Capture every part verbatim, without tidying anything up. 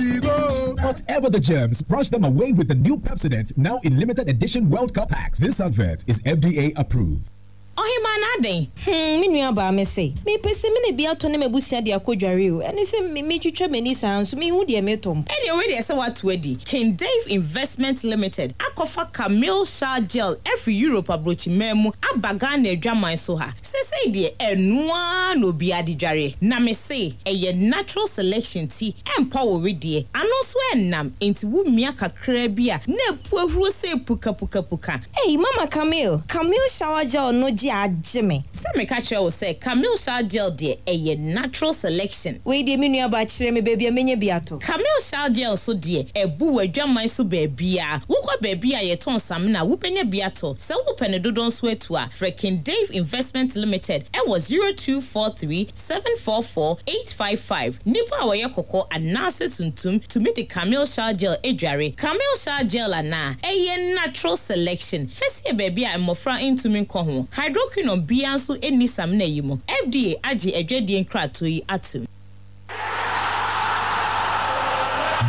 we go. Whatever the germs, brush them away with the new Pepsodent, now in limited edition World Cup packs. This advert is F D A approved. Ɔhema na adɛn? Hmm, me nua baa, me se mepɛ sɛ me ne bi atɔ ne m'abusua de akɔdware o. Ɛne sɛ metwitwa m'ani saa nso mehu deɛ metɔ mpo. Ɛnea wei deɛ, sɛ woato adi, King Dave Investment Limited akɔfa Camil Shower Gel afiri Europe aburokyiman mu aba Ghana adwaman so ha. Sesei deɛ, ɛnoa na obiara de dware, na me se ɛyɛ natural selection ti ɛmpa wo wedeɛ ano nso ɛnnam, nti wo mmea kakra bi a na epu ahuro sɛ pukapukapuka. Ei, Mama Camil, Camil Shower Gel no gye agye me. Sɛ meka kyerɛ wo sɛ Camil Shower Gel deɛ, ɛyɛ natural selection. Wei deɛ, me nua baa, kyerɛ me baabi a menya bi atɔ. Camil Shower Gel so deɛ, ɛbu wɔ adwaman so baabia. Wokɔ baabi a yɛtɔn samina, wobɛnya bi atɔ. Sɛ wopɛ ne dodoɔ nso atu a, frɛ King Dave Investment Limited ɛwɔ zero two four three seven four four eight five five. Nipa a wɔyɛ kɔkɔɔ anaasɛ tuntum tumi de Camil Shower Gel adware. Camil Shower Gel anaa ɛyɛ natural selection fɛsi baabi a mmɔfra ntumi nkɔ ho. Hydroquinone bia nso nni samina yi mu. F D A agye adwadie nkratoɔ yi atom.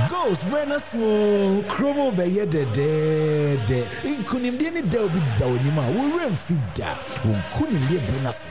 Goals berɛ no so, kurom bɛyɛ dɛdɛɛdɛ. Nkonimdie ne da obi da w'anim a wɔwerɛ mfi da. Wo nkonimdie berɛ no so,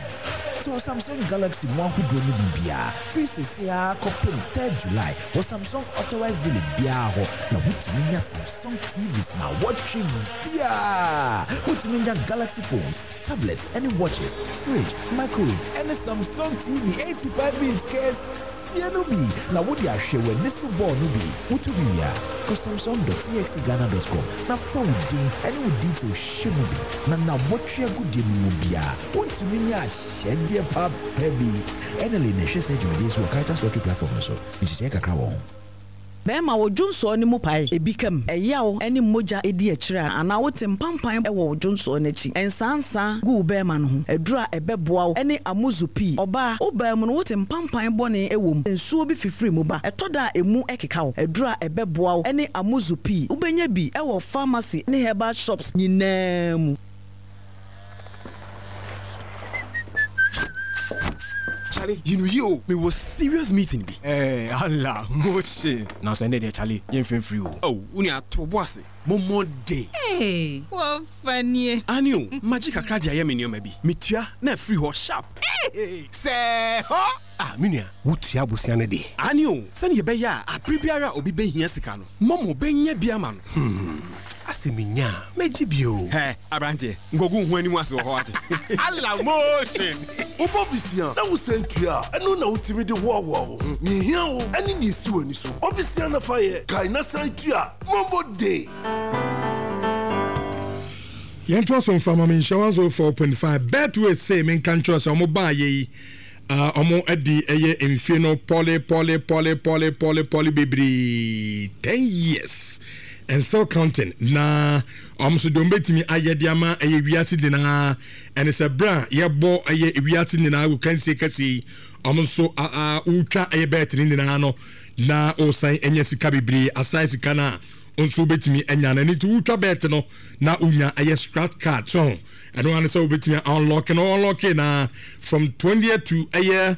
tɔ Samsung Galaxy mu ahodoɔ no biribiaa firi seesei a kɔpem third July wɔ Samsung authorized dealer biara hɔ, na wotumi nya Samsung T Vs na wɔtwe biaa. Wotumi nya Galaxy phones, tablet ne watches, fridge, microwave ɛne Samsung T V eighty-five inch kɛseɛ no bi na wode ahwɛ w'ani so bɔɔl no bi. Wotɔ bi wie a, kɔ samsung dot T X T ghana dot com na fa wo din ne wo detail hyɛ mu bi, na nawɔtwe agodie no mu biara wontumi nya akyɛdeɛ papa bi. Ɛnɛle na ɛhwɛ sɛ dwumadie so wɔ Caritas Lottery platform no so. Nhyehyɛeɛ kakra wɔ ho. Bɛrima, wo dwonsɔɔ no mu pae, ebi kam, ɛyaw ne mogya edi akyire a, anaa wote mpampan wɔ wo dwonsɔɔ n'akyi, nsansa gu wo bɛrima no ho, aduru a ɛbɛboa wo ne Amuzu Pii. Ɔbaa, wo baa mu no, wote mpampan bɔne wɔ mu, nsuo bi fifiri mu ba, ɛtɔ da a emu ɛkeka wo, aduru a ɛbɛboa wo ne Amuzu Pii. Wobɛnya bi ɛwɔ pharmacy ne herbal shops nyinaa mu. Charlie, you know you me was serious meeting bi. Eh, Allah, moche. Na so ende de, Charlie, yɛmfimfiri o. Oh, wo nua, to bo ase. Momo day. Hey, wɔfa nie. Ani o, magye kakra de ayɛ me nneɛma bi. Metua na afiri hɔ sharp. Hey, sɛ hɔ. Ah, me nua, wotua abosea no deɛ. Ani o, sɛnea ɛbɛyɛ a abere biara a obi bɛhia sika no, Momo bɛnya bi ama no. Hmm, asɛ menya a, mɛgye bi o. Hɛ, aberanteɛ, nkɔgu ho anim ase wɔ hɔ ate. Allah motion. Wobɔ bisia na wosan tua a, ɛno na wotumi de hoahoa wo ho. Nea ehia wo ɛne nea esi w'ani so. Ɔbisia na fa yɛ kae na san tua. Momo day. Yɛntoa so mfa ma menhyɛ one oh four point five. Betway se menka nkyerɛ sɛ ɔmo baa yɛ yi, ɔmo adi ɛyɛ mfie no pɔle pɔle pɔle pɔle pɔle pɔle bebree, ten years and still counting. Na ɔmo nso deɛ ɔmo bɛtumi ayɛ de ama ɛyɛ wiase nyinaa ɛne sɛ berɛ a yɛbɔ ɛyɛ wiase nyinaa wɔ kansie kɛseɛ yi, ɔmo nso wotwa ɛyɛ bet ne nyinaa no na ɔsan anya sika bebree asan sika no a nso wobɛtumi anya no. Ɛno nti wotwa bet no na wonya ɛyɛ scratch card so ho. Ɛno ano sɛ wobɛtumi unlock no, unlock na from twentieth to ɛyɛ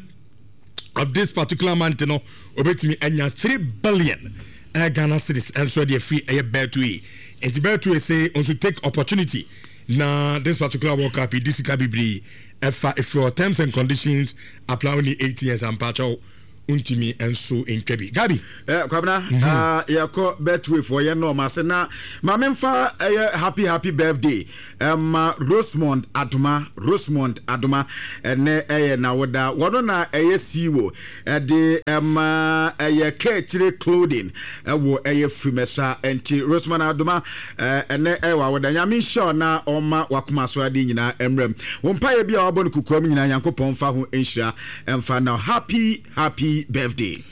of this particular month no, wobɛtumi anya three billion ɛyɛ Ghana cedis ɛnso ɛde afiri ɛyɛ Betway. Nti Betway say nso take opportunity na this particular World Cup di sika bebree ɛfa efiri. Terms and conditions apply. Only eighteen years ampakyɛw ntumi nso ntwa bi, Gabi. Eh, Kwabena, mm -hmm. uh, yɛkɔ Betway foɔ yɛn nɔɔma ase na maame nfa ɛyɛ happy happy birthday ɛma um, Rosemond Adoma. Rosemond Adoma, ɛnɛ ɛyɛ nawoda. Wɔno na ɛyɛ C E O ɛde ɛma ɛyɛ Kɛkyire Clothing ɛwɔ ɛyɛ Firimɛsa. Nti Rosemond Adoma, ɛnɛ ɛyɛ wawoda. Nyame nhyɛ na ɔma wakoma so ade nyinaa mmerɛm. Wɔn mpaeɛ bi a wabɔ no kukuam nyinaa, Nyankopɔn fa ho nhyira ɛmfa na happy happy birthday.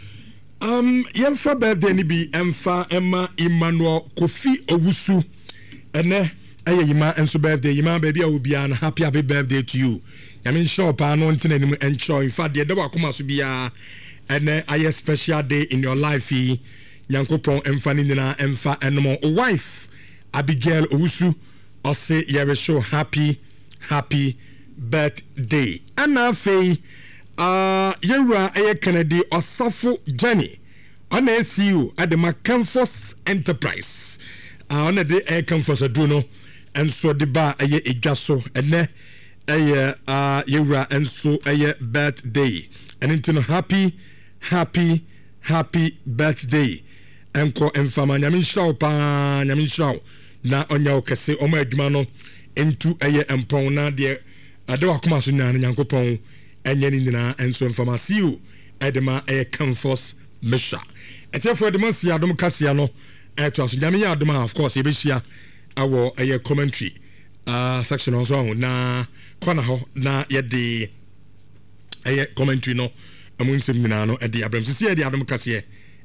Um, yɛmfa birthday no bi ɛmfa ɛma Emmanuel Kofi Owusu. Ɛnɛ ɛyɛ Yima nso birthday. Yima, baabi a obiara no, happy happy birthday to you. Nyame nhyira wo paa no ntena anim ɛnkyerɛ. In fact, deɛ ɛda wakoma so biara ɛnɛ ayɛ special day in your life yi, Nyankopɔn ɛmfa ne nyinaa ɛmfa ɛnom. O wife Abigail Owusu ɔse yɛrehyɛ happy happy birthday. Ɛna afei uh, yɛwura ɛyɛ Kennedy Ɔsafo Jenny. Ɔna yɛ C E O ɛde ma Comfort Enterprise. Ɔna de ɛyɛ Comfort aduro no nso de ba ɛyɛ edwa so. Ɛnɛ ɛyɛ yɛwura nso ɛyɛ birthday. Ɛno nti no happy happy happy birthday. Ɛnkɔ mfama nyame nhyira wo paa, nyame nhyira wo na ɔnya wo kɛse. Ɔmo adwuma no ntu ɛyɛ mpɔn na deɛ ade wakoma so nyinaa no Nyankopɔn ɛnyɛ ne nyinaa nso mfama. C E O ɛde ma ɛyɛ Comfort Mesha. Ɛtiɛfoɔ ɛde ma si adom kaseɛ no ɛto aso. Nyame yɛ adom a of course yɛbɛhyia ɛwɔ ɛyɛ commentary uh, section nso aho na kɔna hɔ na yɛde ɛyɛ commentary no ɛmu nsɛm nyinaa no ɛde abrɛm sisi yɛde adom kaseɛ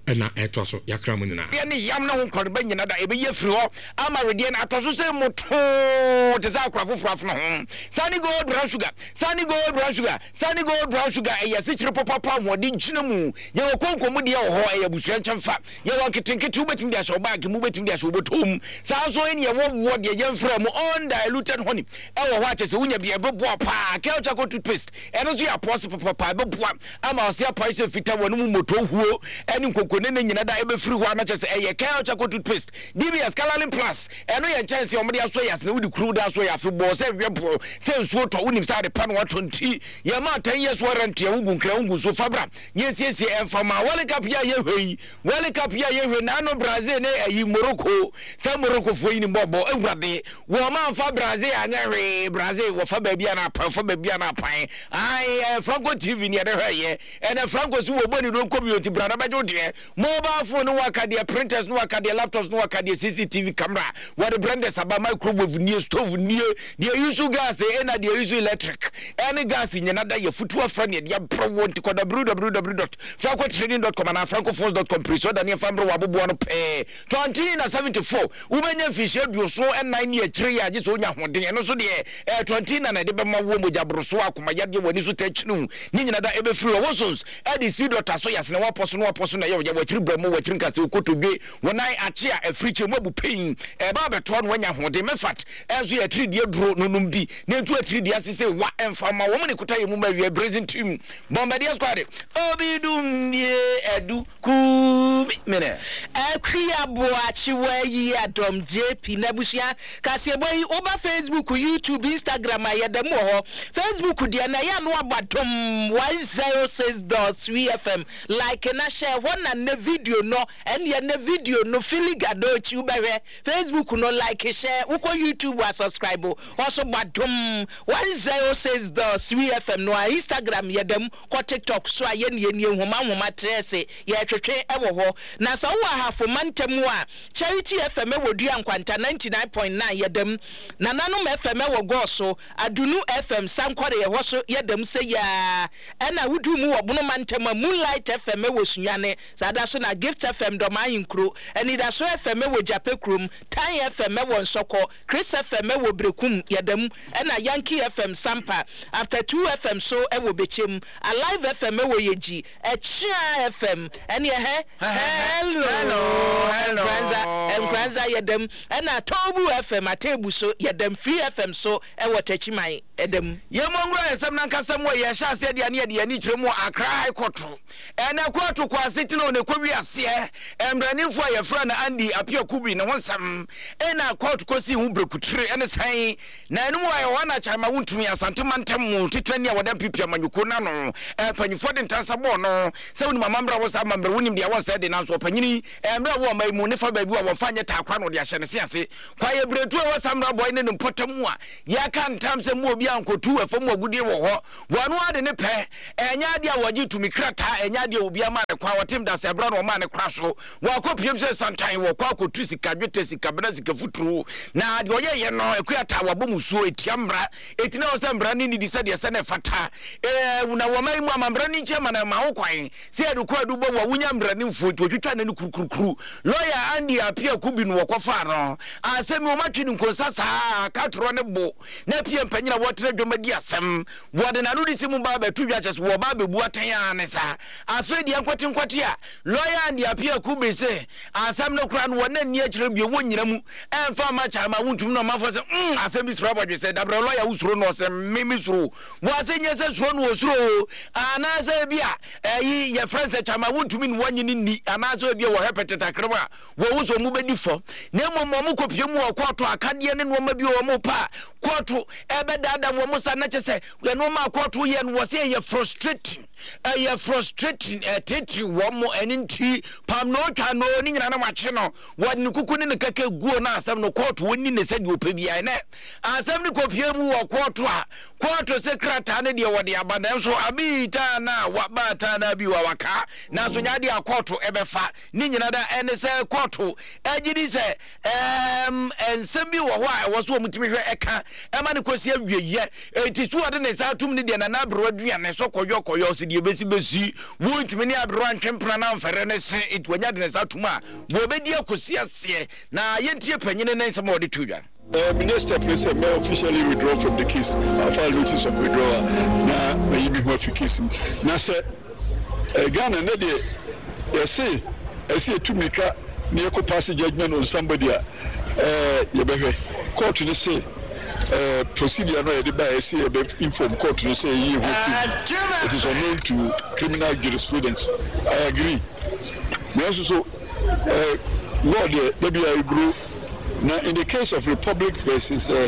ɛna ɛto aso yakra mu nyinaa. Yɛ ne yam na ho nkɔrɔba nyina da ɛbɛyɛ firi hɔ ama wedeɛ no atɔ so sɛ motoo te sɛ akora foforɔ afono ho. Sani Gold brown sugar, Sani Gold brown sugar, Sani Gold brown sugar ɛyɛ asikyire pɔpɔpɔ ahoɔden gyina mu. Yɛwɔ konko mu deɛ wɔ hɔ ɛyɛ abusua nkyɛmfa. Yɛwɔ nketenkete wobɛtumi de ahyɛ wo baage mu, wobɛtumi de ahyɛ wo bɔtɔ mu. Saa nso ɛne yɛwɔ wɔ deɛ yɛmfrɛ mu undiluted honey ɛwɔ hɔ akyɛ sɛ wonya bi ɛbɛboa paa. Kel charcoal toothpaste ɛno nso yɛ apɔse pɔpɔpɔ ɛbɛboa ama ɔse apae sɛ fita wɔ no mu moto huo ɛne nkonko ne ne nyina da ɛbɛfiri hɔ anakyɛ sɛ ɛyɛ Kel charcoal toothpaste. D B S Coloring Plus ɛno yɛ nkyɛnse a wɔde aso yɛ asene wode kuru da so yɛ afebɔɔ sɛ hwɛ sɛ nsuo tɔ wonim sɛ ade pa no watɔ nti yɛma ten years warranty a wogu nkra wogu nsuo fabra yɛsiesie ɛmfa ma World Cup yɛ a yɛhwɛ yi World Cup yɛ a yɛhwɛ naano Brazil ne ayi Morocco sɛ Morocco foɔ yi ni bɔbɔ awurade wɔn amfa Brazil anyɛ hwee. Brazil wɔfa baabi a na apan fa baabi a na apan ai Franco T V ne yɛde hwɛ yɛ ɛna Franco si wɔ bɔ ne don kɔbi oti bra na bɛgye deɛ mobile phone no waka deɛ printers no waka deɛ laptops no waka deɛ C C T V camera wɔde blenders aba microwave nie stove nie deɛ use gas ɛna deɛ use electric ɛne gas nyina da yɛ futu afra ne deɛ brɛ wɔ nti kɔ w w w dot franco trading dot com ana franco phones dot com pre so da ne fa mbrɛ wɔ aboboa no pɛɛ twenty na seventy four wobɛnya mfihyia aduoso ɛnan ne akyire yɛ agye sɛ wonya ahoɔden ɛno nso deɛ ɛɛ twenty na na ɛde bɛma wo mogya boro so akoma yadeɛ w'ani so tɛkyinu ne nyina da ɛbɛfiri wɔ wosons ɛde speed dɔta so yɛasene wapɔ so no wapɔ so na ɛyɛ wɔakyiri brɛ mu wɔakyiri nkasɛ wokotodwe wɔnan akye a afiri kyɛ mu abu pɛn ɛba abɛtoa no wanya ahoɔden mɛfat ɛnso yɛ atirideɛ duro no nom bi na ntu atirideɛ ase sɛ wa ɛmfa ma wɔn ne kuta yɛ mu ma wie brazen team Bombardier squad obi dum die edu kumi mene akwi aboakye wa yi adom J P na busua kasebo yi oba Facebook, YouTube, Instagram ayedam wo ho. Facebook de na ya no abadom one zero six dot three F M like na share ho na ne video no ene ne video no filigadochi ubehwe Facebook no like share wokɔ YouTube wa subscribe also badom one zero six dot three F M no Instagram yedam kɔ TikTok so aye ne ne nhoma nhoma trese ye twetwe ewo ho na sa wo ahafo mantamu a Charity F M wo dua nkwanta ninety-nine point nine yedam nananom F M wo goso Adunu F M sankore ye ho so yedam se ya ena wudu mu wo bono mantamu Moonlight F M wo sunyane sada so na Gift F M do man nkro enida so F M wo japekrum Tan F M wo nsoko Chris F M wo brekum yedam ena Yankee F M Sampa After two F M so e wo bechem Alive F M wo yeji Echia F M ene he hello hello hello Nkranza yedam ena Tobu F M atebu so yedam Free F M so e wo tachiman edam yemongro esem na nkasem wo ye hya ase de ne de ani kyerɛ mu Accra High Court ena court kwase tino ne kɔwi ase emranifo ye fra na Andy Apia Kubi ne honsam ena court kosi hu brekutire ene san na enu aye ho na chama wontumi asante mantam mu titani a wɔda pipia manyuko na no e panyifo de ntansa bɔ no sɛ woni mamamra wo sa mamra wonim de awon sɛ de nanso ɔpanyini emra wo mai mu ne fa baabi wa wɔfa nyɛ taakwa no de ahyɛ ne se ase kwa ye bretu e samra boy ne mpɔtam a ya ka ntam sɛ mu obi ankotu efam agudie wɔ hɔ wɔno ade ne pɛ enya ade a wɔgye tumi krata enya ade obi ama ne kwa wɔtem da sɛ bra no ma ne kwa so wɔakɔ piem sɛ santan wɔkɔ akɔtu sika dwete sika bena sika futuro na de ɔyɛ yɛ no akuata wɔbɔ musuo etia mmra etina wɔ sɛ mmra ne nidi sɛ deɛ sɛ ne fata eh na wɔma mu amambra ne nkyɛ ma na ma wo kwan sɛ yɛde kɔ adu bɔ wɔ wonya mmra ne mfuo nti wɔtwitwa ne no kurukurukuru lawyer Andy Apia Kubi no wɔkɔfaa no. Asɛm yi wɔatwe no nkonsa saa, katorɔ ne bo na pie mpanyin a wɔtena dwam adi asɛm. Wɔde n'ano de si mu ba abɛto dwa kyɛ sɛ wɔba abɛbu atɛn ara ne saa. Afei deɛ nkwate nkwate a lɔya Andy Appiah Kubi se asɛm no koraa no wɔn anni akyire bio, wɔnnyina mu ɛmfa mma Kyama wontumi na ɔmanfoɔ sɛ mm asɛm bi suro abɔdwe sɛ dabrɛ lɔya wosuro no ɔsɛ me me suro wɔ ase nyɛ sɛ suro no wɔsuro o anaasɛ ebi a ɛyi yɛfrɛ sɛ Kyama wontumi ne wɔnye no nni anaasɛ ebi a wɔhwɛ pɛtɛtakrem a wɔwo sɛ ɔmo bɛdi fɔ na mmom ɔmo kɔpie mu wɔ kɔɔto akadeɛ ne nneɛma bi wɔ ɔmo pa a kɔɔto ɛbɛdaadaa wɔn sa na kyɛ sɛ nneɛma a kɔɔto yɛ no wɔ sɛ ɛyɛ frustrating ɛyɛ frustrating ɛtete wɔn mo ɛne nti pam na otwa no ne nyinaa na wakye no wɔde ne kuku ne ne kɛkɛ guo na asɛm no kɔɔto wɔnni ne sɛdeɛ ɔpɛ biara ɛnɛ asɛm no kɔpie mu wɔ kɔɔto a kɔɔto sɛ krataa no deɛ wɔde aba nanso abi taa na waba taa na bi wa waka nanso nya adeɛ a kɔɔto ɛbɛfa ne nyinaa da ɛne sɛ kɔɔto ɛgye di sɛ ɛɛm nsɛm bi wɔ hɔ a ɛwɔ so wɔn tumi hwɛ ɛka ɛma ne kɔsi awieyɛ eti so wɔde ne nsa atum ne deɛ nana aberewa aduane so kɔyɔ kɔyɔ si deɛ besi besi wɔntumi ne aberewa ntwe mpena na nfɛrɛ ne se eti wɔnya de ne nsa atum a wɔbɛdi akɔsi aseɛ na yɛntie panyini ne nsɛm a wɔde to dwa. Uh, my next step is may officially withdraw from the case. I file notice of withdrawal. Na mayi mi ho afi case mu. Na sɛ uh, Ghana ne deɛ yɛse ɛsɛ yɛtu mirika na yɛkɔ pass judgment on somebody a uh, yɛbɛhwɛ court no se uh, procedure no a yɛde ba yɛsɛ yɛbɛ inform court no sɛ yɛyi ho fi it is unknown to criminal jurisprudence. I agree. Nanso so uh, law deɛ dabi a ɛguro na in the case of Republic versus uh,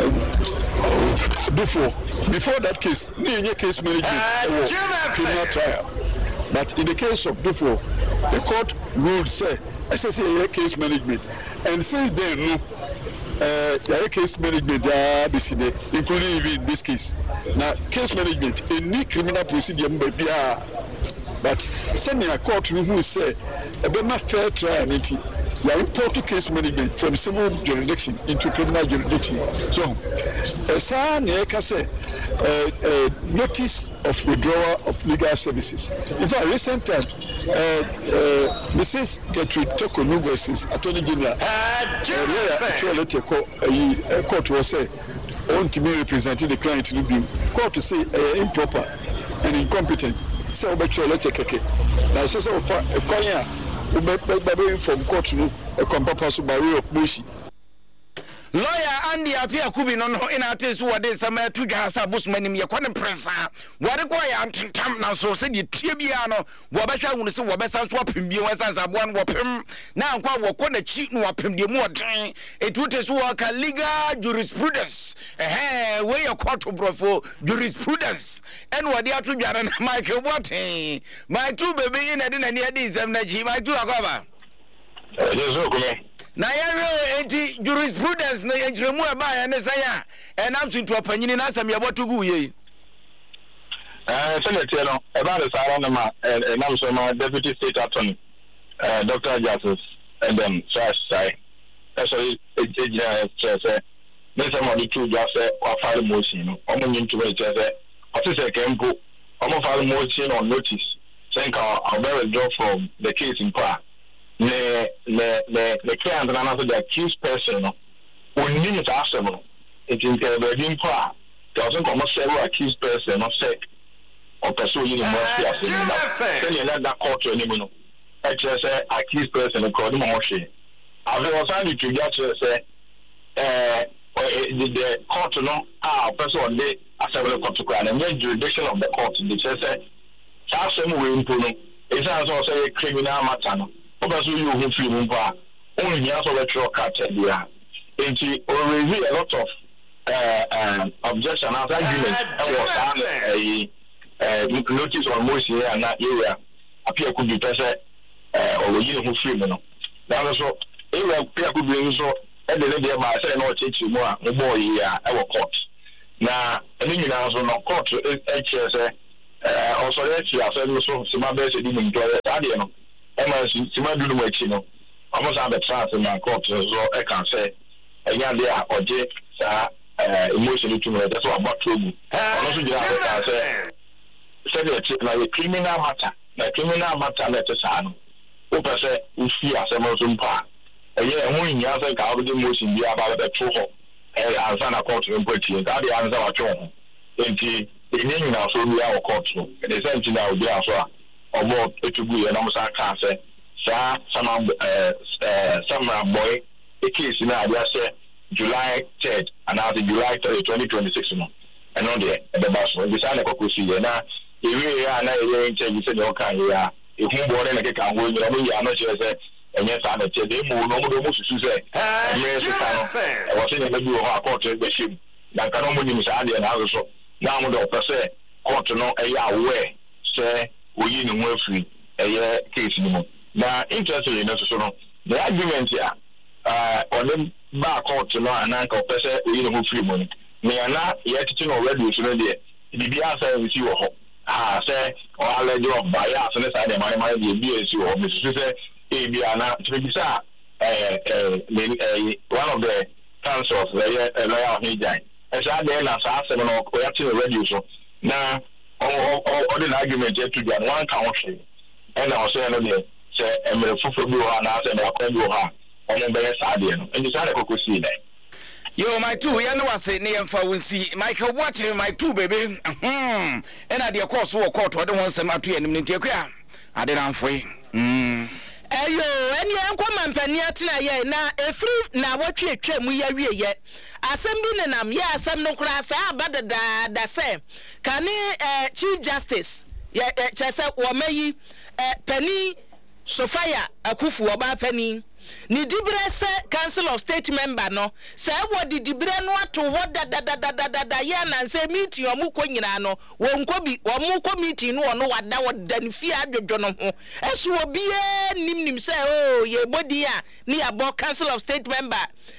uh, before before that case ne yɛnyɛ case management ɛwɔ criminal trial, but in the case of before, the court ruled sɛ ɛsɛ sɛ yɛyɛ case management, and since then no uh, yɛayɛ case management daa bɛsi dɛ, including even in this case. Na case management ɛnni criminal procedure mu baabiara, but sɛnea court no hu sɛ ɛbɛma fair trial no nti yɛ import case management from civil jurisdiction into criminal jurisdiction. So ɛsaa na yɛka sɛ uh, uh, notice of withdrawal of legal services. In fact, recent times, uh, uh, Missus Gertrude Torkornoo versus Attorney General, uh, lawyer atwerɛ letter kɔ ayi uh, court wɔ sɛ ɔntumi represent the client no bio. Court say ɛyɛ improper and incompetent sɛ wobɛtwerɛ letter kɛkɛ na ɛsɛ sɛ wofa ɛkwan a wobɛbɛ inform court no ɛkwan papa so by way of motion. Lawyer Andy Appiah Kubi no no ina ate so wɔde nsɛm ato dwa sɛ abosom anim yɛkɔ ne mprɛnsa wɔde kɔ yɛ antentam nanso sɛdeɛ tie biara no wɔbɛhwɛ ahunu sɛ wɔbɛsa so apem bio ɛsiane sɛ aboa no wɔpem na ankɔ a wɔkɔ n'akyi na wɔapem deɛ mu ɔden ɛtu te so wɔka legal jurisprudence ɛhɛn wei yɛ kɔɔto borɔfo jurisprudence ɛna wɔde ato dwa no na Michael Boateng Mike bebe yi na ɛde n'ani adi nsɛm n'akyi. Mike akɔ aba. Ɛyɛ so kome. Na yɛhwɛ enti jurisprudence no yɛnkyerɛmu a ɛbaeɛ ne sɛn a ɛnam so nti ɔpanyini na asɛm yɛbɔto gu yei. Sɛdeɛ teɛ no ɛbaa ne saa no ma ɛnam so ma Deputy State Attorney uh, Doctor Justice Edem Sai ɛsɔre gyina kyerɛ sɛ ne nsɛm a ɔde too dwa sɛ wafile motion no ɔmo nye ntoma de kyerɛ sɛ ɔte sɛ kɛ mpo ɔmo file motion on notice sɛ nka ɔbɛ withdraw from the case mpo a ne ne ne ne client no anaasɛ the accused person no onim saa asɛm no nti nka baabi mpo a kɛ ɔsɛ nka ɔmo serve accused person no sɛ ɔpɛ sɛ oyi ne ho afi asɛm no ba sɛnea ɛna da court anim no ɛkyerɛ sɛ accused person no kora ɔde ma ho hwee. Afei ɔsan de to dwa kyerɛ sɛ ɛɛ the the court no a ɔpɛ sɛ ɔde asɛm no kɔto koraa no ɛnyɛ jurisdiction of the court de kyerɛ sɛ saa asɛm wei mpo no ɛsiane sɛ ɔsɛ yɛ criminal matter no wopɛ sɛ oyi wo ho firi mu mpo a wonhia sɛ wobɛtwerɛ krataa biara nti ɔraise a lot of uh, uh, objection anaasɛ argument ɛwɔ saa ɛyi uh, notice on motion yi a na yɛwura Appiah Kubi pɛ sɛ ɔwɔyi ne ho firi mu no. Nanso so yɛwura Appiah Kubi nso ɛde ne deɛ baa sɛ na ɔkyerɛkyerɛ mu a mobɔɔ yi a ɛwɔ court na ɛne nyinaa nso no court ɛkyerɛ sɛ ɔsɔre akyi asɛm no so sima bɛyɛ sɛ dunum nti ɔyɛ saa deɛ no ɛma sima dunum akyi no ɔmo san bɛtena ase ma court nso ɛka sɛ ɛnyɛ adeɛ a ɔgye saa emotion no tum no ɛkyɛ sɛ wabɔ to gu. Ɔno nso gyina hɔ kaa sɛ sɛdeɛ ɛte na yɛ criminal matter na criminal matter na ɛte saa no wopɛ sɛ wofi asɛm no so mpo a Ɛyɛ ɛho nhia sɛ nka wode motion bi aba bɛto hɔ ansa na court no mpo atie. Nka adeɛ ansa watwe wo ho. Enti ɛnni nnyinasoɔ biara wɔ court so. Ɛne sɛ nti na ogyina so a ɔbɔ etu guiɛ na ɔmo san kaa sɛ saa Saman ɛɛ ɛɛ Samreboi case no a ade ahyɛ July third anaasɛ July three, twenty twenty six no, ɛno deɛ ɛbɛba so. Nti saa na ɛkɔ kɔsiiɛ. Na yɛwieeɛ a na yɛyɛ interview sɛdeɛ ɔkaa yei a, ehu bɔɔ ne ne keka ho nyinaa, ɔmo yii ano kyerɛɛ sɛ ɛnyɛ saa na ɛteɛ. Na mmom no, ɔmo de ɔmo susu sɛ mmerɛ sesa no, ɛwɔ sɛ nneɛma bi wɔ hɔ a kɔɔto no bɛhyɛ mu. Na nka na ɔmo nim saa deɛ, nanso so na ɔmo de ɔpɛ sɛ kɔɔto no ɛyɛ aware sɛ oyi ne ho afiri ɛyɛ case no mu. Na interestingly no nso so no, the argument a ɔde baa court no a na anka ɔpɛ sɛ oyi ne ho firi mu no, nea na yɛtete no wɔ radio so no deɛ, biribiara san nsi wɔ hɔ. Ha sɛ ɔ allege of bias ne saa nneɛma nneɛma no deɛ, bi ansi wɔ hɔ. Mesusu sɛ ebia na nti mebisa ɛɛ ɛɛ ne ɛɛ one of the counsels, ɛyɛ lawyer Ɔhene ɛsɛ adɛn na saa asɛm no ɔyɛte no radio so na ɔde n'argument ato dwa no, wanka ho hwee? Ɛna ɔsɛ no deɛ sɛ mmerɛ foforɔ bi wɔ hɔ anaasɛ mmerɛ kwan bi wɔ hɔ a ɔmo bɛyɛ saa adeɛ no. Nti saa na ɛkɔkɔ sii nɛ. Yo, my two, yɛn ne wase ne yɛmfa wo nsi. Michael Boakye, my two baby, hmm ɛna deɛ kɔɔ so wɔ court, ɔde ho nsɛm ato yɛn anim no. Nti akua ade namfoe mm. Ɛyo, ɛneɛ ɛnkɔ mampanin atena yɛ na ɛfiri na wɔtwe atwa mu yɛ awieyɛ. Asɛm bi nenam yɛ asɛm no koraa saa aba dadaada sɛ kane eh, Chief Justice yɛ eh, kyerɛ sɛ wɔma yi eh, panin Sophia Akuffo, ɔbaa panin, ne diberɛ sɛ Council of State member no, sɛ wɔde diberɛ no ato hɔ dadadadadada yɛ anansɛ meeting ɔmo kɔ nyinaa no, wɔnkɔ bi. Ɔmo kɔ meeting no, ɔno wada, ɔda ne fie adwodwo no ho. Ɛso obiara nim nim sɛ oo yɛbɔ din a ne yɛabɔ Council of State member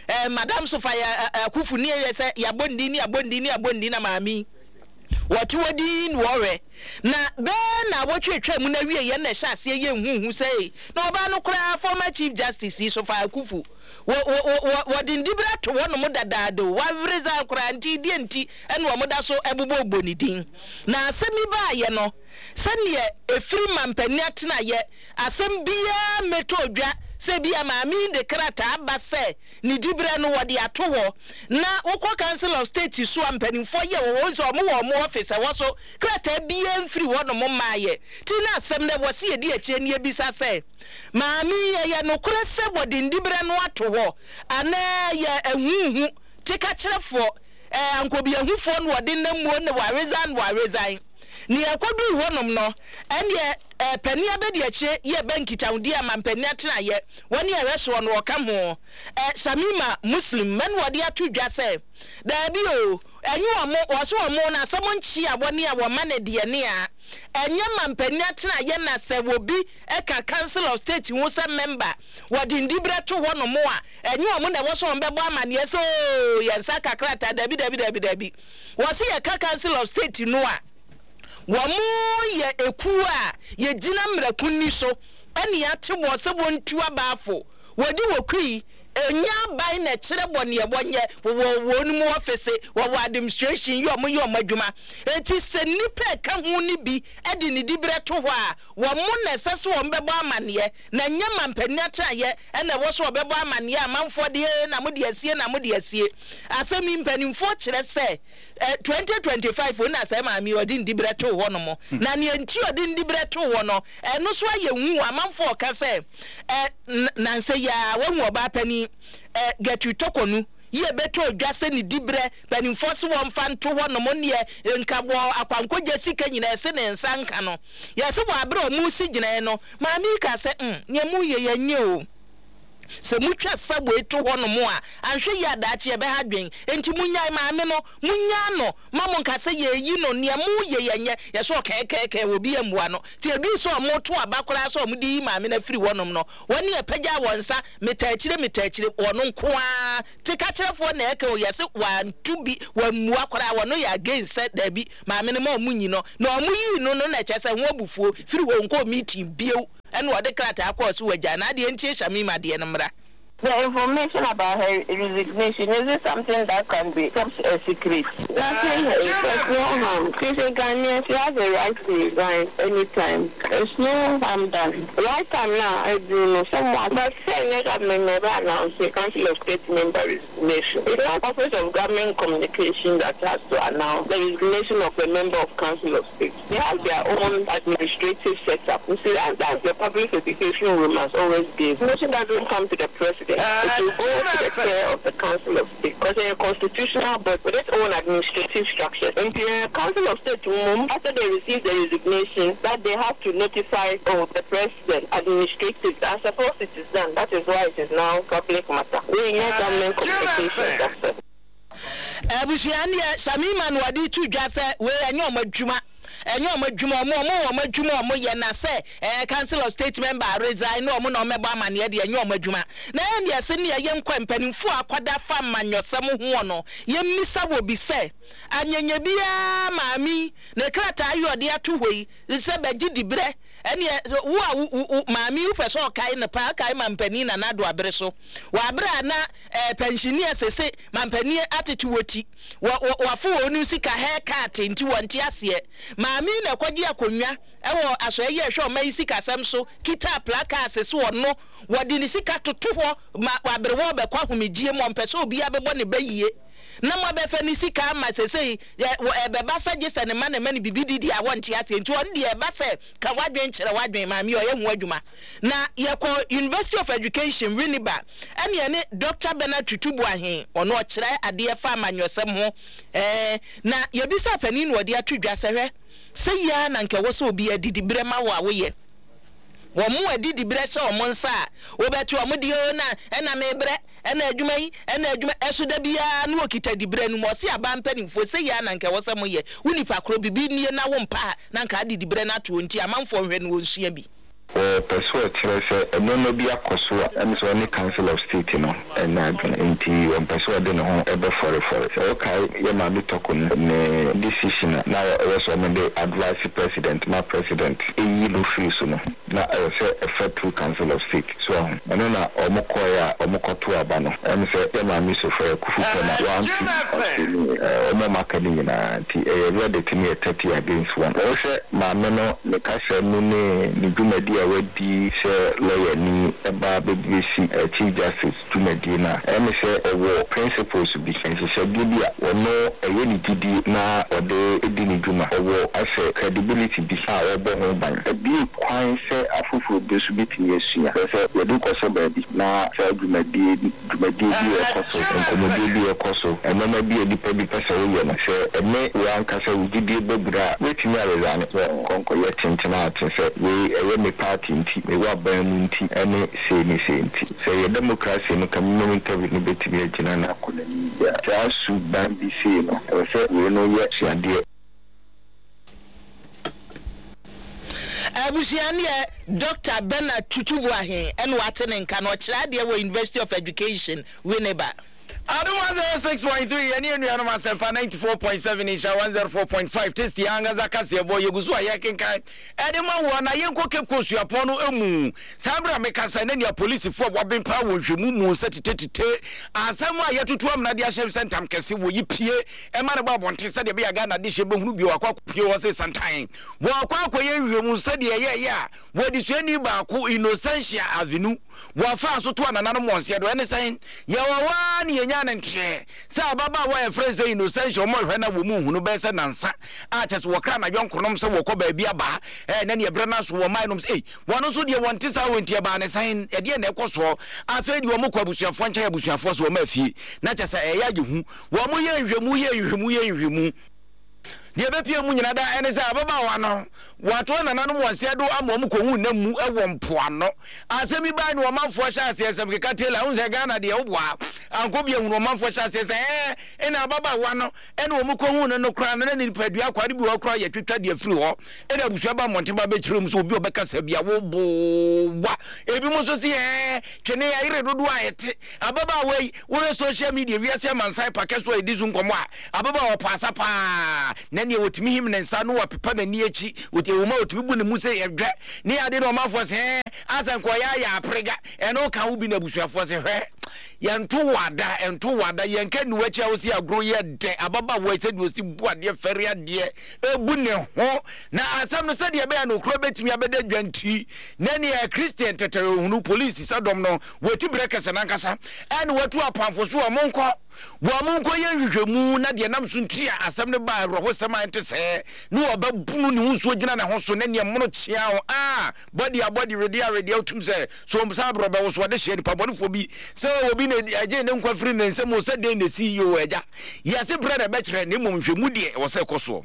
eh, Madam Sophia Akuffo ne yɛ sɛ yɛabɔ ne din ne yɛabɔ ne din ne yɛabɔ ne din, na maame wɔte wɔ din na wɔhwɛ na bɛɛ na wɔtwetwa mu na wie yɛn na ɛhyɛ aseɛ yɛ nhuhu sɛ na ɔbaa no koraa, former Chief Justice yi, Sophia Akuffo, wɔ wɔ wɔ wɔde ndibere ato hɔnom dadaada o, wawere zan koraa. Nti deɛ nti ɛna wɔn da so ɛbobɔ ne din na asɛm yi baayɛ no, sɛneɛ efiri mampanin atenayɛ, asɛm biara mmɛtɔ dwa sɛ bi a maame yi de krataa ba sɛ ne diberɛ no wɔde ato hɔ. Na wokɔ Council of State so a, mpanimfoɔ yɛ wɔ hɔ sɛ ɔmo wɔ ɔmo office ɛwɔ so, krataa biara mfiri hɔ nom mmaayɛ. Ti na asɛm no wɔ se yɛdi akyire ne yɛbisa sɛ maame yi, ɛyɛ nokorɛ sɛ wɔde ndiberɛ no ato hɔ anaa yɛ ahuhu tekakyerɛfoɔ ɛɛ ankɔbiahufoɔ no wɔde nam muo ne waresign waresign? Ne yɛkɔduu hɔnom no, ɛneɛ ɛɛ panin abɛdi akyire yɛ bɛ nkitahodie ama mpanin atenayɛ wɔne ɛhwɛ soɔ no ɔka ho ɛ Shamima Muslim mɛne wɔde ato dwa sɛ daabi o, ɛnyɛ wɔn, wɔso wɔn na asɛm nkye a wɔne a wɔma ne deɛ ne a ɛnyɛ ma mpanin atenayɛ. Na sɛ wɔbi ɛka Council of State ho sɛ member wɔde ndiberɛ to hɔ nom a, ɛnyɛ wɔn na ɛwɔ so wɔn bɛbɔ amaneɛ sɛ ooo yɛn nsa kakrata. Dabi, dabi, dabi, dabi. Wɔsi yɛka Council of State no a, wɔn yɛ ekuo a yɛgyina mmerɛkunni so ɛne ate wɔ sɛ wɔntu abaafo wɔde wɔ kui enya aban na ɛkyerɛ bɔ neɛ wɔnyɛ wɔ wɔn mu ɔfisi, wɔwɔ administration yi, wɔn yɛ wɔn adwuma. Eti sɛ nipa ɛka ho ne bi ɛde ne diberɛ to hɔ a, wɔn mo na ɛsɛ sɛ wɔn bɛbɔ amaneɛ, na nyɛ ma mpanin atenaeɛ ɛna ɛwɔ so wɔbɛbɔ amaneɛ. Amanfoɔ deɛ na mo de asie na mo de asie. Asɛm yi mpanimfoɔ kyerɛ sɛ ɛ twenty twenty five na sɛ maame ɔde ndiberɛ to hɔ nom, na nea nti ɔde ndiberɛ to hɔ no, ɛno so ayɛ hu. Amanfoɔ ɔka sɛ ɛ nansa yi a wahu ɔbaa panin ɛ Gertrude Torkornoo yie bɛtɔ odwa sɛ ne diberɛ mpanimfoɔ so wɔmfa nto hɔ nom, neɛ nka wɔ akwankogya sika nyinaa ɛse ne nsa nka no. Yɛsɛ wɔ abere a ɔmo si gyinae no, maame yi ka sɛ mm nea mu yɛ yɛnyɛ o, sɛ mutwa subway to hɔ nom a, anhwɛ yi adaakye yɛbɛha dwen. Nti munyae maame no, munyaa no ma mo nka sɛ yɛyi no, nea mo yɛ yɛnyɛ. Yɛsɛ ɔkɛɛkɛɛkɛɛ wɔ bi mmoa no. Nti edu sɛ ɔmo to aba koraa sɛ ɔmo de yi maame no afiri hɔnom no, wɔne ɛpagya wɔn nsa meta akyire meta akyire, wɔn nko ara te kakyerɛfoɔ na ɛka o. Yɛsɛ wanto bi, wammua koraa, wɔno yɛ against sɛ daabi, maame no ma ɔmo nyi no. Na ɔmo yii no no na ɛkyɛ sɛ ho abufuo firi hɔ nkɔɔ meeting bio, ɛna ɔde krataa kɔɔ so wagya na adeɛ. Ntie Shamima deɛ no mmra. The information about her resignation, is it something that can be kept a secret? Nothing, there's no harm. She's a Ghanaian, she has a right to resign anytime. There's no harm done. Right time now, I do know someone. But say government never announced a Council of State member resignation. It's not Office of Government Communication that has to announce the resignation of a member of Council of State. They have their own administrative setup. You see, that, that's the public education we must always give. Nothing doesn't come to the president. It will go to the chair of the Council of State, because they're a constitutional body with its own administrative structure. And the Council of State, after they receive the resignation, that they have to notify oh, the president administrative. I suppose it is done. That is why it is now public matter. We need government communication. That's it. Abusua neɛ Shamima na wɔde to dwa sɛ wei ɛnyɛ ɔmo adwuma, ɛnyɛ ɔmo adwuma, ɔmo ɔmo wɔ ɔmo adwuma ɔmo yɛ, na sɛ ɛɛ Council of State member resign na ɔmo na ɔmo ɛbɔ amaneɛ deɛ, ɛnyɛ ɔmo adwuma. Na ɛyɛ deɛ sɛ neɛ yɛnkɔ mpanimfoɔ akɔda fa amanyɔsɛm hoɔ no, yɛmmisa wɔ bi sɛ anyanya biara maame ne krataa yi ɔde ato hɔ yi sɛ bɛgye diberɛ, ɛneɛ wo a wo maame yi wopɛ sɛ ɔkae no paa, kae mampanin Nana Addo abere so wɔ abere a na ɛɛ pensioner sese mampanin atete wɔ ti wɔ wɔ wafo wɔ onim sika haircut nti wɔnte aseɛ. Maame na ɛkɔgye akonnwa ɛwɔ asɔe yi a ɛhwɛ ɔma yi sikasɛm so, kita placards so, ɔno wɔde ne sika toto hɔ ma aberewa ɔbɛkɔ ahomegye mu, ɔmpɛ sɛ obiara bɛbɔ ne ba yie na mo abɛfɛ ne sika ama sesei ɛbɛba sɛ gye sɛ ne ma ne ma ne bibi didi a wɔnte aseɛ. Nti ɔno deɛ ɛba sɛ ka wadwen kyerɛ wadwen maame ɔyɛ ho adwuma. Na yɛkɔ University of Education Winneba, ɛne ɛne Doctor Bernard Tutu Boahen, ɔno ɔkyerɛ adeɛ fa amanyɔsɛm ho, ɛɛ na yɛbisa panin na ɔde ato dwa sɛ hwɛ sɛ yia na nka ɛwɔ sɛ obi adidi berɛ ma wo a woyɛ wɔn mo adidi berɛ hyɛ wɔn nsa a wobɛto wɔn deɛ o, na ɛna mebrɛ ɛna adwuma yi ɛna adwuma ɛso da biara na wɔkita diberɛ no mu. Ɔse aba mpanimfoɔ sɛ yia na nka ɛwɔ sɛ moyɛ wo nipa korɔ bibi nie na wo mpa a na nka ade diberɛ no ato nti amanfoɔ nhwɛ no wɔnsua bi. Wɔpɛ sɛ ɔkyerɛ sɛ nneɛma bi akɔ so a ɛne sɛ ɔne Council of State no ɛnyɛ adwene, nti wɔmpɛ sɛ ɔde ne ho ɛbɛfɔrefɔre. Sɛ wokae yɛ maame Tɔko ne decision a na ɛwɔ sɛ ɔmo advice president ma president ɛyi no firi so no, na ɛwɔ sɛ ɛfɛ through Council of State so aho ɛno na ɔmo kɔɛ a ɔmo kɔto aba no, ɛne sɛ yɛ maame Sophia Akuffo pɛ na wantu ɔsɛ ɔmo ɔmo aka ne nyinaa, nti ɛyɛ verdict ne yɛ thirty against one. Wɔhwɛ maame no ne kasa mu ne ne dwumadi a wadi sɛ lawyer ni ɛba bɛbɛsi Chief Justice dwumadie no a, ɛne sɛ ɔwɔ principles bi, nhyehyɛdeɛ bi a ɔno ɛyɛ ne gyidie na ɔde di ne dwuma. Ɔwɔ asɛ credibility bi a ɔbɔ ho ban, ebie kwan sɛ afoforɔ bi nso bɛtumi asua. Sɛ sɛ yɛde kɔsɔ baabi na saa dwumadie dwumadie bi ɛkɔ so, nkɔmmɔdie bi ɛkɔ so, nneɛma bi a nipa bi pɛ sɛ woyɛ no, sɛ ɛne wo ankasa wo gyidie bɛbura a, wobɛtumi aresign sɛ nkɔnkɔyɛ tenten ate sɛ wei ɛyɛ me party nti, mewɔ aban mu nti, ɛne sei ne sei nti. Sɛ yɛ democracy no, ka interview no bɛtumi agyina na akɔ n'anim yie a, saa su ban bi sei no, ɛwɔ sɛ wei no yɛ suadeɛ. Abusua neɛ Doctor Bernard Tutu Boahen ɛna wate ne nka no, ɔkyerɛ adeɛ wɔ University of Education Winneba. Adom one oh six point three yɛne anuanom Asɛmpa ninety four point seven Nhyira one oh four point five Tasty ankasa kaseɛ bɔ yɛgu so a yɛkenkan ɛde ma woɔ. Na yɛnkɔ Cape Coast suapɔn no mu saa berɛ a mekasa na nea polisifoɔ a wɔaben paa wɔ nhwɛmu mu sɛ titetite asɛm a yɛtoto amena de ahyɛ sɛ ntam kɛse wɔ yi pie ɛma no bɔ abɔnten sɛdeɛ ɛbɛyɛ Ghana de hyɛ bɛhunu bio akɔ akɔpie hɔ sɛ santan wɔakɔ akɔyɛ nhwɛmu sɛdeɛ ɛyɛɛyɛ a wɔde suani baako Innocentia Avenue wɔafa so to anananom wɔn seɛ do. Ɛne sɛn yɛwɔ hɔ a ne yɛnya ne nteɛ sɛ ababaawa a yɛfrɛ sɛ Innocentia ɔmo hwɛ na wɔ mu hunu bɛyɛ sɛ nansa a kyɛ sɛ wɔkra na yɔnkonom sɛ wɔkɔ baabi aba ɛɛ na ne ɛbrɛ no aso wɔ mmaa nom sɛ ei wɔn nso deɛ wɔn te saa wɔ nti ɛbaa ne sɛn ɛdeɛ na ɛkɔ soɔ. Afei deɛ wɔn kɔ abusuafoɔ nkyɛn, abusuafoɔ so wɔn afie na kyɛ sɛ ɛyɛ agye hu wɔn yɛ nhwɛmu yɛ nhwɛmu yɛ nhwɛmu deɛ ɛbɛpie mu nyina da ɛne sɛ ababaawa no wɔato nananom wɔn seɛ do ama wɔn kɔhu nam mu ɛwɔ mpoano. Asɛm yi baa ne ɔmanfoɔ hyɛ aseɛ nsɛm keka tela ho sɛ Ghana deɛ woboa Ankɔ bi ahunu ɔmanfoɔ hyɛ aseɛ sɛ ɛɛ ɛna ababaawa no ɛna wɔn kɔhu no no koraa no na ne nipadua akwaa no bi wɔ hɔ koraa yɛtwitwa deɛ firi hɔ. Ɛna abusua ba mmɔnten ba bɛkyerɛ mu sɛ obi a ɔbɛkasa bi a woboa. Ebinom nso se ɛɛ twene ayere dodoɔ a ɛte ababaawa yi. Wohwɛ social media wiase amansan pakɛ so a ɛdi so nkɔmmɔ a, ababaawa ɔpɔ asa paa na neɛ wɔtumi him ne nsa no wapepa n'ani akyi, ɛwɔ mu a wɔtumi bu ne mu sɛ ɛdwɛ ne ade na ɔmanfoɔ se ɛɛ asɛ nkɔyɛ ayɛ aprega ɛno ka wo bi na abusuafoɔ se hwɛ yɛnto wada ɛnto wada yɛnka nni w'akyi a wosi agorɔ yɛ dɛ. Ababaawa yi sɛdeɛ ɔsi bu adeɛ fɛre adeɛ ebu ne ho na asɛm no sɛdeɛ ɛbɛyɛ no okura bɛtumi abɛda dwa nti na neɛ Christian tɛtɛrɛ ohunu polisi sɛ dɔm no wɔti berɛ kɛsɛ nankasa ɛne watu apamfo so wɔn nkɔ wɔn nkɔ yɛ nhwehwɛmu na deɛ nam so nti a asɛm no baa awerɛhosɛm a ɛnte sɛɛ ne wɔbɛbunu ne ho nsuo gyina ne ho so ne neɛ mono kyea ho a bɔde abɔde wedeɛ awedeɛ wotum sɛ so saa berɛ ɔbɛwo so ɔde hyɛ nipa bɔnefoɔ bi sɛ obi na ɛgye ne nkwa firi ne nsam o sɛ dɛn na ɛsi yi o agya yɛse berɛ na ɛbɛkyerɛ na mmom nhwɛmu deɛ ɛwɔ sɛ ɛkɔ soɔ.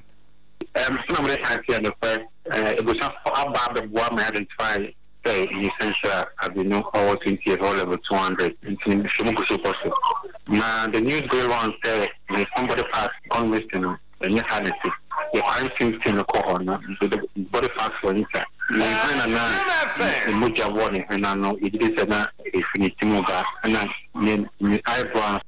Um, sɛ na mede kan sɛ nokorɛ abusuafo aba abɛboa ma identify sɛ Nyinsɛnhyira Abinu ɔwɔ twenty years ɔwɔ level two hundred nti nhwehwɛmu gu so kɔ so. Na the news going round sɛ ne some body parts gone missing no ɛnyɛ saa na ɛte. Yɛ crime scene team no kɔ hɔ no the body parts wɔ inside. Ne hwene na na ne mogya wɔ ne hwene ano yɛgye di sɛ na ɛfiri ne ti mu ba ɛna ne ne eyebrow.